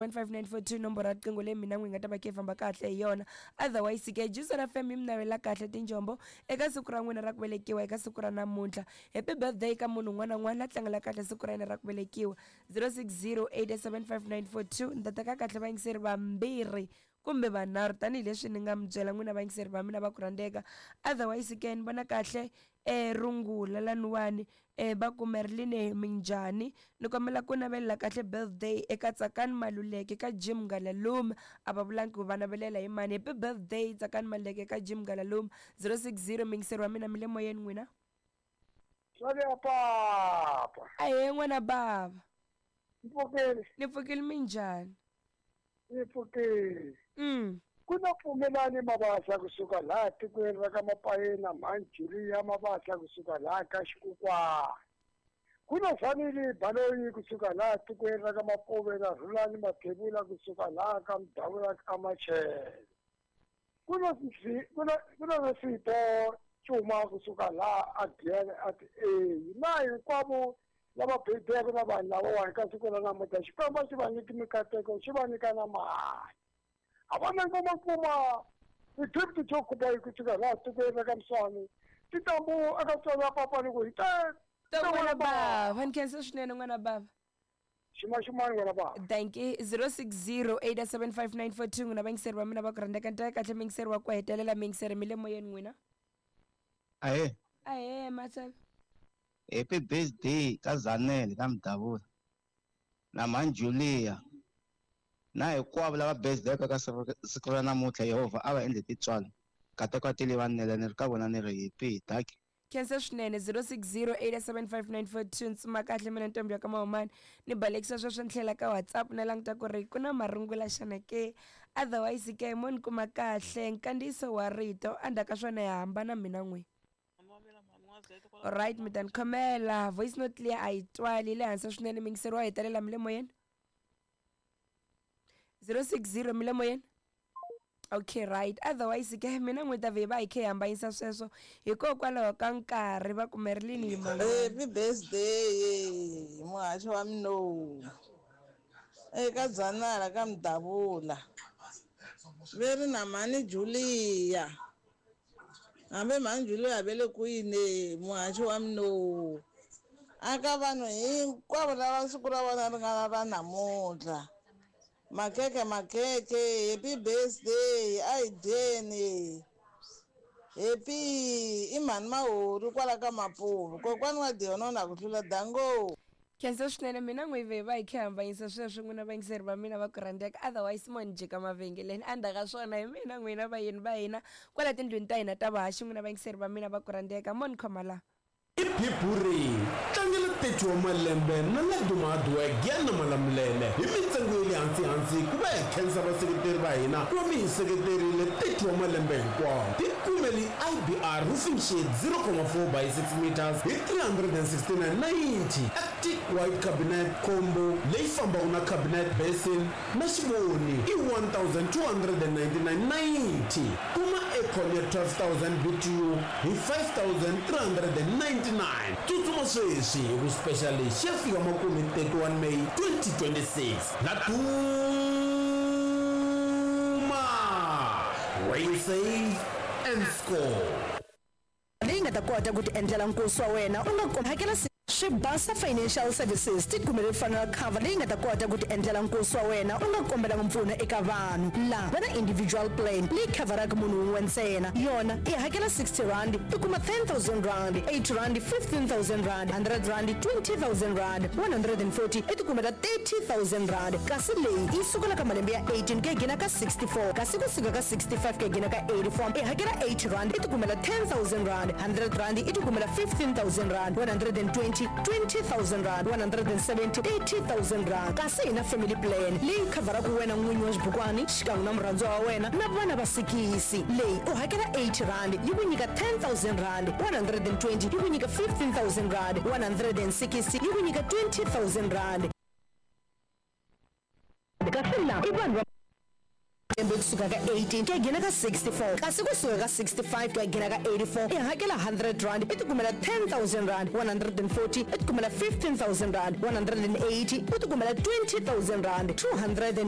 15942 nomboro ya riqingho leyi mina n'wi nga ta va khe famba kahle hi yona. Otherwise ke Juice FM yi mi navela kahle tinjombo eka siku ra n'wina ra ku velekiwa eka siku ra namuntlha. Happy birthday ka munhu un'wana na un'wana la tlangela kahle siku ra yena ra ku velekiwa. 06087594 ni ta teka kahle vayingiseri vambirhi kumbe vanharhu tanihileswi ni nga mi byela n'wina vayingiseri va mina va ku rhandzeka. Otherwise ke ni vona kahle rungula laniwani va ku Merline minjhani ni kombela ku navelela kahle birthday eka Tsakani Maluleke ka Jim Ngalalume a va vulangi ku va navelela hi mani. Happy birthday Tsakani Maluleke ka Jim Ngalalume. 060 muyingiseri wa mina mi le moyeni n'wina. Swaku ya papa. Ahee n'wana bava. Ni pfukile. Ni pfukile minjhani? Ni pfukile. Ku na Pfumelani Mabasa kusuka laha tikweni ra ka Mapayena, mhani Julia Mabasa kusuka laha ka Xikukwana. Ku na Sanile Baloyi kusuka laha tikweni ra ka Mapuve na Rhulani Mathebula kusuka laha ka Mudavula ka Machele. Ku na ku na ku na na Sipho Cuma kusuka laha a Giyani a ti A. Na hinkwavo lava bebeke na vanhu lavawani ka siku ra namuntlha Xikwembu a xi va nyiki mikateko xi va nyika na mali. A va na ngoma kuma ti-gift to khuba hi kusuka laha tikweni ra ka Mswani tintambu eka tswalo ya papa ni ku hi ta Ta n'wana bava ni khensa swinene n'wana bava. Xuma-xumani n'wana bava. Thank you. 06087594 n'wina vayingiseri va mina va ku rhandzeka ni teka kahle muyingiseri wa ku hetelela muyingiseri mi le moyeni n'wina. Ahee. Ahee Matsebe. Happy birthday ka Zanele ka Mudavula na mhani Julia na hinkwavo lava birthday-aka ka siku ra namuntlha Yehovha a va endle tintswalo nkateko a tele va nele ni ri ka vona ni ri happy dankie. Khensa swinene. 0608759442 ntsuma kahle mina ntombi ya ka Mahumani ni balekisa sweswo ni tlhela ka WhatsApp na languta ku ri ku na marungula xana ke. Otherwise ke mo ni kuma kahle nkandziyiso wa rito endzhaku ka swona hi hambana mina n'wi. Alright mi ta ni khomela voice note liya a yi twali yi le hansi swinene muyingiseri wa hetelela mi le moyeni. 060 mi le moyeni. Okay right otherwise ke mina n'wi ta vhe va hi khe hi hambanyisa sweswo hikokwalaho ka nkarhi va ku Merlin yi Happy birthday muhaxi wa minowu eka Dzanala ka Mudavula ve ri na mhani Julia hambi mhani Julia ve le kwini muhaxi wa minowu aka vanhu hinkwavo lava siku ra vona ri nga ra namuntlha. Makeke makeke happy birthday a hi dyeni happy i mhani Mahori kwala ka Mapuve kokwani wa Dionona ku hlula dango. Khensa swinene mina n'wi ve va hi khe hambanyisa sweswo n'wina vayingiseri va mina va ku rhandzeka otherwise mo ni jika mavhengeleni endzhaku ka swona hi mina n'wina vayeni va hina kwala tindlwini ta hina ta vahaxi n'wina vayingiseri va mina va ku rhandzeka mo ni khoma la. I Biburi, tlangela 30 wa malembe na Laduma Hardware Giyani Malamulele hi mintsengo ya le hansi-hansi ku va hi khensa vaseketeri va hina ku va mi hi seketerile 30 wa malembe hinkwawo. Tikumeli IBR Roofing Sheet 0,4 by 6 meters hi 369.90, Arctic White Cabinet Combo leyi fambaka na cabinet basin na xivoni i 1299.90. Kuma aircon ya 12000 BTU hi 5399. Tsutsuma sweswi hi ku special lexi xi ya fika makumu hi 31 May 2026. La Duma! Where you save and score. Leyi nga ta kota ku tiendlela nkosi wa wena u nga hakela Swibasa Financial Services ti kumele funeral cover leyi nga ta kota ku tiendlela nkosi wa wena u nga kombelanga mpfuno eka vanhu. La va na individual plan leyi khavharaka munhu wun'we ntsena. Yona i hakela R60 i kuma R10,000, R80 R15,000, R100 R20,000, R140 i tikumela R30,000. Kasi leyi yi sukela ka malembe ya 18 ku ya gina ka 64, kasi ku suka ka 65 ku ya gina ka 84 i hakela R80 i tikumela R10,000, R100 i tikumela R15,000, R120 R20,000, R170 R30,000. Kasi hi na family plan leyi khavharaka wena n'winyi wa xibukwani xikan'we na murhandziwa wa wena na vana va sikisi. Leyi u hakela R80 yi ku nyika R10,000, R120 yi ku nyika R15,000, R160 yi ku nyika R20,000. Kasi lava i vanhu va. Malembe kusuka ka 18 ku ya nghena ka 64, kasi kusuka ka 65 ku ya nghena ka 84 i hakela 100 rand i tikumela 10000 rand, 140 i tikumela 15000 rand, 180 u tikumela 20000 rand, 200.